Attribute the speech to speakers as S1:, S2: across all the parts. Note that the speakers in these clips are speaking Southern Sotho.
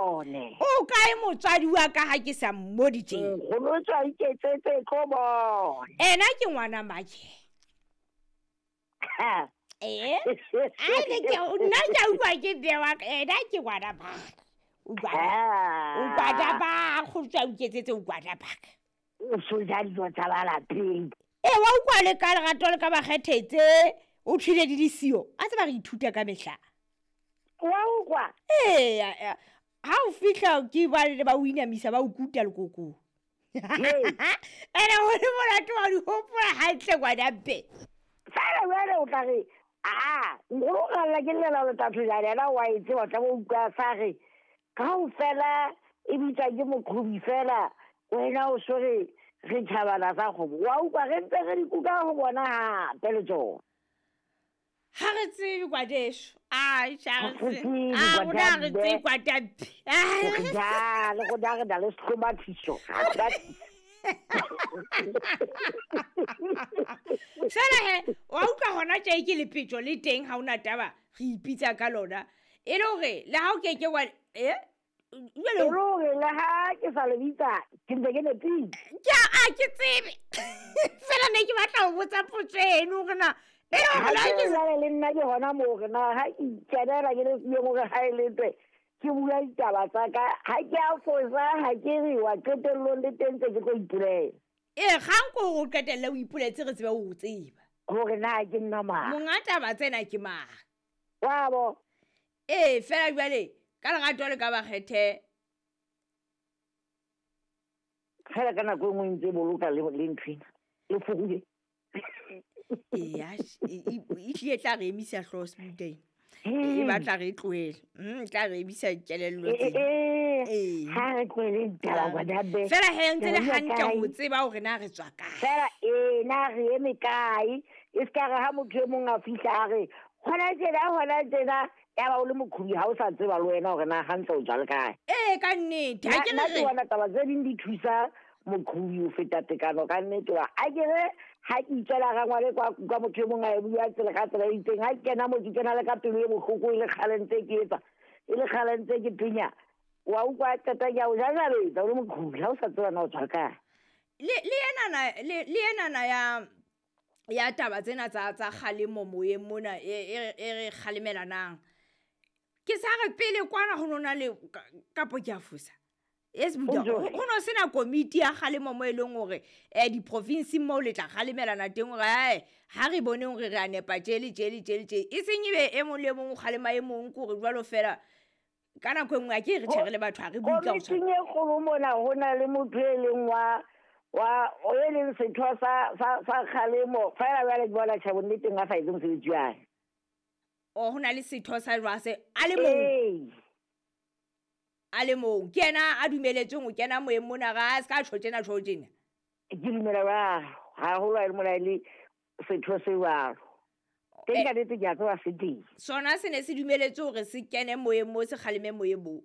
S1: Bone.
S2: O kae motswadi wa ka ha ke sa mmodi tje?
S1: Nkgono tswa iketsetse tlo bona.
S2: Ena ke ngwana make. Ee? Ai ne ke nna ke a utlwa ke bewa ena ke ngwana baka. O ngwana ba go tswa iketsetse o ngwana baka.
S1: O so ja dijo tsa ba lapeng.
S2: Ee wa utlwa le ka lerato le ka ba kgethetse o thwile di le siyo. A tseba re ithuta ka mehla.
S1: Wa utlwa?
S2: Ee, ha o fihla ke ba le ba o inamisa ba o kuta lekokong. Ene ho le monate wa di hopola hantle ngwana mpe.
S1: Fela jwale o tla re aa nkgono o kgalla ke llela le tatho jane yena wa e tseba tla bo utlwa sa re kaofela e bitswa ke moqhobi fela wena o so re re tjhabana sa kgomo. Wa utlwa re ntse re di kuka ho bona hape le tsona.
S2: Ha re tsebe ngwaneso. Ai, ha re
S1: Ha re
S2: tsebe.
S1: tsebe,
S2: A rona ha re
S1: ngwanambe.
S2: tsebe ngwanampe.
S1: Hore ja, le rona re na le sehlomathiso.
S2: Fela he, wa utlwa hona tje ke lepetjo le teng ha ona taba re ipitsa ka lona. E le hore le ha o ke ke wa e jwale
S1: E le hore le ha ke sa le bitsa, ke ntse ke nepile.
S2: Ke a ke tsebe. Fela ne ke batla ho botsa potso eno hore na e le hore
S1: Ha
S2: le ha
S1: ke
S2: ke
S1: jwale le nna ke hona moo hore na ha ke ikenela ke le siyo hore ha e le twe, ke bua ditaba tsa ka, ha ke a fosa, ha ke re wa qetellong le teng tse ke tlo ipolela.
S2: Ee, kgang ke hore o qetelle o ipoletse re tsebe ho o tseba.
S1: Hore na ke nna mang.
S2: Monga taba tsena ke mang.
S1: Wa bo.
S2: Ee, fela jwale ka lerato le ka ba kgethe.
S1: Fela ka nako e nngwe ntse boloka le nthwena. Le foruye.
S2: Ee, e hlile tla re emisa hlooho Sebuteng. E batla re tlohele. Tla re emisa kelello tsena. Ee.
S1: Ha re tlohele ditaba ngwana be.
S2: Fela he ntse le
S1: Re
S2: hantle
S1: kae?
S2: ho tseba hore na re tswa kae.
S1: Fela ee, na re eme kae? E se ka re ha motho e mong a fihla a re, hona tjena, hona tjena, ya ba o le moqhobi ha o sa tseba le wena hore na hantle o tswa le kae.
S2: Ee, ka nnete. Ha ke
S1: Nna
S2: re
S1: ke bona taba tse ding di thusa moqhobi ho feta tekano ka nnete wa. A ke re ha ke itswela rangwane kwa kwa motho e mong a e bua tsela ka tsela e itseng, ha ke kena moo ke kena le ka pelo e bohloko e le kgale ntse ke etsa, e le kgale ntse ke penya. Wa utlwa qeta ke a o jajabetsa o le moqhobi ha o sa tseba na o tswa kae.
S2: Le enana ya taba tsena tsa kgalemo moyeng mona e re kgalemelanang. Ke sa re pele kwana ho nona le kapo ke a fosa. Yes, Buda,
S1: O jwang?
S2: ho no sena komiti ya kgalemo mo e leng hore, diprofinsing moo le tla kgalemelana teng hore, ae, ha re boneng hore re a nepa tje le tje le tje le tje. E seng ebe e mong le e mong o kgalema e mong, ke hore jwalo fela ka nako e nngwe ha ke re tjhe re le batho ha re bue ka ho tshwana.
S1: Komiting e kgolo mona ho na le motho e leng wa, o e leng setho sa kgalemo. Fela jwale ke bona tjhe bonneteng a sa etse mosebetsi wa hae.
S2: O, ho na le setho sa jwang se, a le mong?
S1: Ee.
S2: A le mong. Ke yena a dumeletsweng ho kena moyeng mona, ra a se ka tjho tjena, tjho tjena.
S1: Ke dumela jwalo, haholo ha e le mona e le setho se jwalo. Teng ka nnete ke a tseba se teng.
S2: Sona se ne se dumeletswe hore se kene moyeng moo, se kgaleme moyeng moo.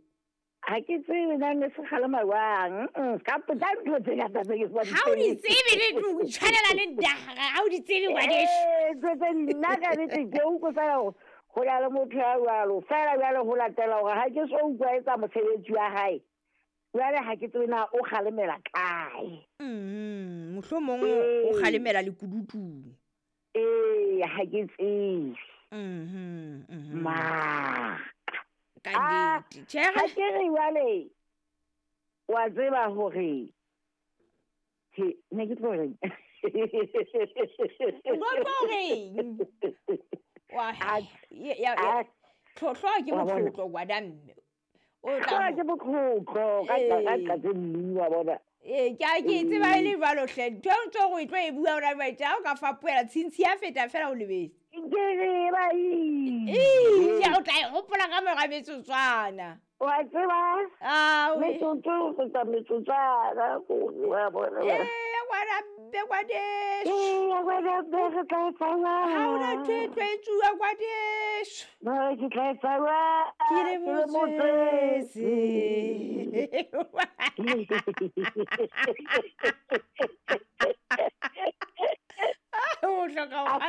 S1: Ha ke tsebe na ne se kgalema jwang. Ka tsa ntho tse ngata tse ke sa di
S2: Ha o di
S1: tsebeng.
S2: tsebe le tlung, tshwanela le ndaga, ha o di tsebe ngwaneso.
S1: Ee, ntho tse nna ka nnete ke utlwe fela hore ho na le motho ya jwalo. Fela jwale ho latela hore ha ke so utlwa etsa mosebetsi wa hae. Jwale ha ke tsebe na o kgalemela kae.
S2: Mohlomong o kgalemela lekunutung.
S1: Ee, ha ke tsebe. Ma.
S2: Ka nnete. Tjhe,
S1: Ha ke re jwale, wa tseba hore, he, ne ke tlo reng?
S2: O tlo reng? Wa,
S1: A,
S2: ya, ya,
S1: a,
S2: tlhotlho ke
S1: wa bona.
S2: motlotlo, ngwana mme. O tla
S1: Tlhotlho ke motlotlo, ka
S2: Ee.
S1: ka tse nne, wa bona.
S2: Ee, ke a ke tseba e le jwalo hle. Ntho e ntse o e tlo e bua hona jwale, tje, ha o ka fapohela, tshintshi ya feta fela o lebetse.
S1: Ke re ba
S2: Ee,
S1: ile.
S2: o tla e hopola ka mora metsotswana.
S1: Wa tseba?
S2: Ah, we.
S1: Metsotso ho feta metsotswana, wa bona.
S2: Ee, ngwana mme, ngwaneso.
S1: Ee, ngwana mme, re tla etsa jwang?
S2: Ha hona ntho e tlo etsuwa, ngwaneso.
S1: No, ke tla etsa jwang?
S2: Ke le
S1: Ke le
S2: motswetse. O hloka ho